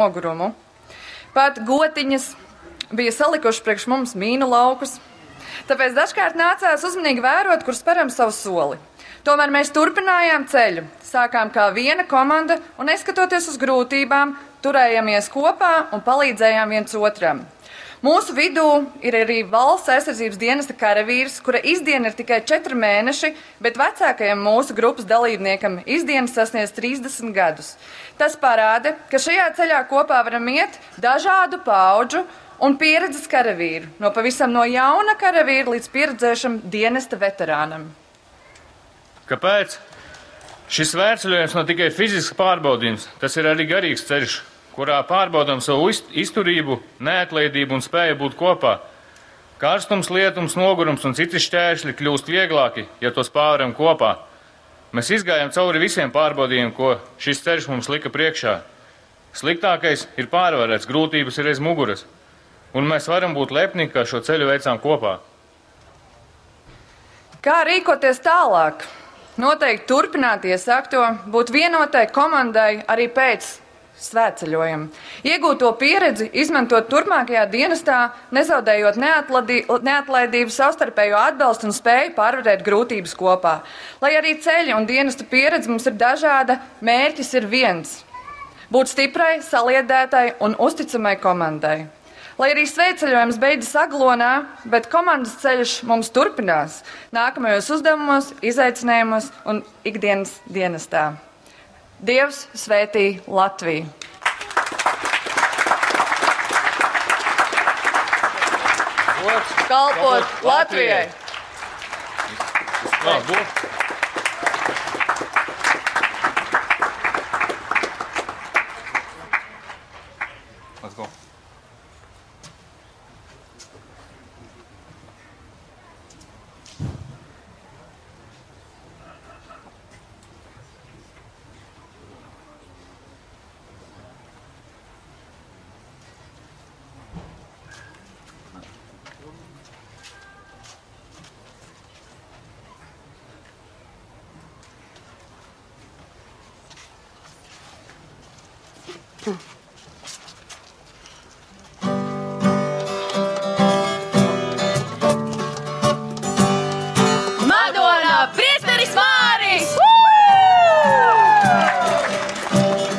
Nogurumu. Pat gotiņas bija salikušas priekš mums mīnu laukus, tāpēc dažkārt nācās uzmanīgi vērot, kur speram savu soli. Tomēr mēs turpinājām ceļu, sākām kā viena komanda un, neskatoties uz grūtībām, turējamies kopā un palīdzējām viens otram. Mūsu vidū ir arī valsts aizsardzības dienesta karavīrs, kura izdiena ir tikai 4 mēneši, bet vecākajam mūsu grupas dalībniekam izdienas sasniedz 30 gadus. Tas parāda, ka šajā ceļā kopā varam iet dažādu paaudžu un pieredzes karavīru, no pavisam no jauna karavīra līdz pieredzējušam dienesta veterānam. Kāpēc? Šis svētceļojums nav tikai fizisks pārbaudījums, tas ir arī garīgs ceļš, kurā pārbaudām savu izturību, neatlaidību un spēju būt kopā. Karstums, lietums, nogurums un citi šķēršļi kļūst vieglāki, ja tos pārvaram kopā. Mēs izgājām cauri visiem pārbaudījumiem, ko šis ceļš mums lika priekšā. Sliktākais ir pārvarēts, grūtības ir aiz muguras, un mēs varam būt lepni, ka šo ceļu veicām kopā. Kā rīkoties tālāk? Noteikti turpināt iesākto, būt vienotai komandai arī pēc svētceļojuma. Iegūto pieredzi izmantot turpmākajā dienestā, nezaudējot neatlaidību, savstarpējo atbalstu un spēju pārvarēt grūtības kopā. Lai arī ceļa un dienesta pieredze mums ir dažāda, mērķis ir viens - būt stiprai, saliedētai un uzticamai komandai. Lai arī svētceļojums beidzas Aglonā, bet komandas ceļš mums turpinās nākamajos uzdevumos, izaicinājumos un ikdienas dienestā. Dievs svētī Latviju! Gods Kalpot Latvijai! Labi. Let's go.